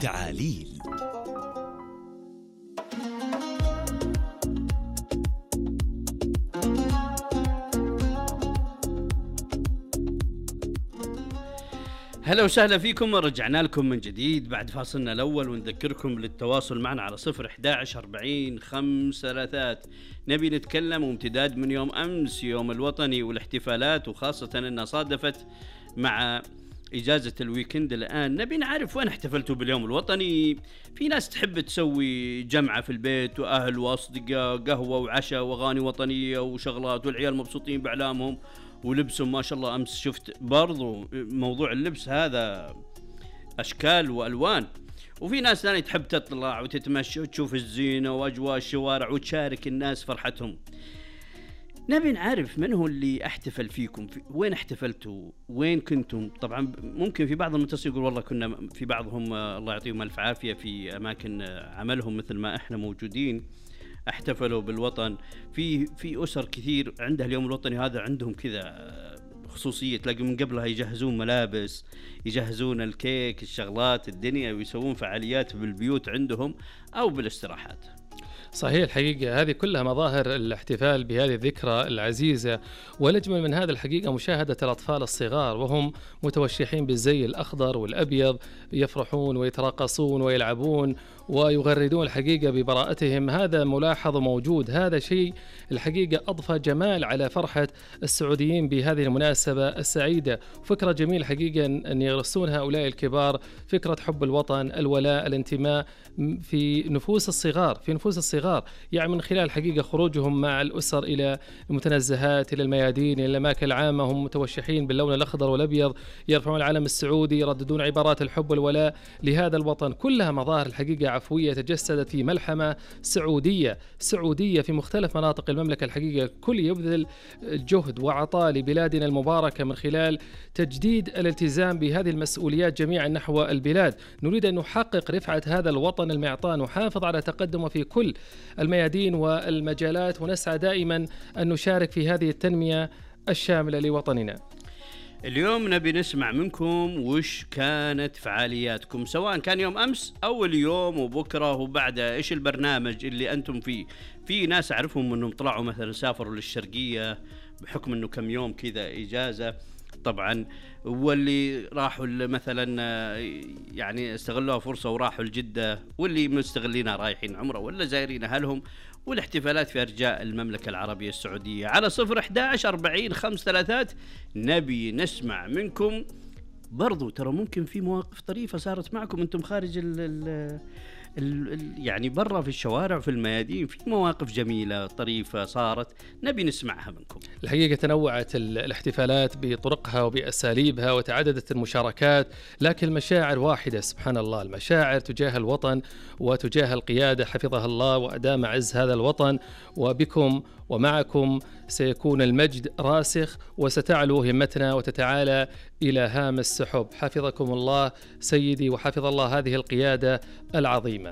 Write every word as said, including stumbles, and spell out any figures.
تعاليل. هلا وسهلا فيكم، ورجعنا لكم من جديد بعد فاصلنا الأول، ونذكركم للتواصل معنا على صفر إحدى عشر أربعين خمس ثلاثات. نبي نتكلم وامتداد من يوم أمس، يوم الوطني والاحتفالات، وخاصة أنها صادفت مع إجازة الويكند. الآن نبي نعرف وين احتفلتوا باليوم الوطني. في ناس تحب تسوي جمعة في البيت وأهل وأصدقاء، قهوة وعشاء وأغاني وطنية وشغلات، والعيال مبسوطين بأعلامهم ولبسهم ما شاء الله. أمس شفت برضو موضوع اللبس هذا أشكال وألوان. وفي ناس ثانية تحب تطلع وتتمشى وتشوف الزينة وأجواء الشوارع وتشارك الناس فرحتهم. نبي نعرف من هو اللي احتفل فيكم، في وين احتفلتوا، وين كنتم. طبعا ممكن في بعض المتصلين يقول والله كنا في بعضهم الله يعطيهم الف عافية في أماكن عملهم مثل ما احنا موجودين احتفلوا بالوطن. في في أسر كثير عندها اليوم الوطني هذا عندهم كذا خصوصية، تلاقي من قبلها يجهزون ملابس، يجهزون الكيك، الشغلات، الدنيا، ويسوون فعاليات بالبيوت عندهم أو بالاستراحات. صحيح، الحقيقة هذه كلها مظاهر الاحتفال بهذه الذكرى العزيزة. والأجمل من هذا الحقيقة مشاهدة الأطفال الصغار وهم متوشحين بالزي الأخضر والأبيض، يفرحون ويتراقصون ويلعبون ويغردون الحقيقة ببراءتهم. هذا ملاحظ موجود، هذا شيء الحقيقة أضفى جمال على فرحة السعوديين بهذه المناسبة السعيدة. فكرة جميلة حقيقة أن يرسون هؤلاء الكبار فكرة حب الوطن، الولاء، الانتماء في نفوس الصغار في نفوس الصغار يعني من خلال حقيقة خروجهم مع الأسر إلى المتنزهات، إلى الميادين، إلى الأماكن العامة، هم متوشحين باللون الأخضر والأبيض، يرفعون العلم السعودي، يرددون عبارات الحب والولاء لهذا الوطن. كلها مظاهر الحقيقة عفوية تجسدت في ملحمة سعودية سعودية في مختلف مناطق المملكة. الحقيقة كل يبذل جهد وعطاء لبلادنا المباركة من خلال تجديد الالتزام بهذه المسؤوليات جميعا نحو البلاد. نريد أن نحقق رفعة هذا الوطن المعطاء، نحافظ على تقدمه في كل الميادين والمجالات، ونسعى دائما أن نشارك في هذه التنمية الشاملة لوطننا. اليوم نبي نسمع منكم وش كانت فعالياتكم، سواء كان يوم أمس أو اليوم وبكرة وبعده. إيش البرنامج اللي أنتم فيه؟ في ناس أعرفهم أنهم طلعوا مثلا سافروا للشرقية بحكم أنه كم يوم كذا إجازة طبعا، واللي راحوا مثلا يعني استغلوها فرصة وراحوا لجدة، واللي مستغلينها رايحين عمرة ولا زائرين أهلهم. والاحتفالات في أرجاء المملكة العربية السعودية. على صفر إحدى عشر أربعين خمس ثلاثات نبي نسمع منكم. برضو ترى ممكن في مواقف طريفة صارت معكم أنتم خارج ال ال ال يعني برا في الشوارع في الميادين، في مواقف جميلة طريفة صارت نبي نسمعها منكم. الحقيقة تنوعت الاحتفالات بطرقها وبأساليبها وتعددت المشاركات، لكن المشاعر واحدة سبحان الله، المشاعر تجاه الوطن وتجاه القيادة حفظها الله وأدام عز هذا الوطن. وبكم ومعكم سيكون المجد راسخ، وستعلو همتنا وتتعالى إلى هام السحب. حفظكم الله سيدي، وحفظ الله هذه القيادة العظيمة.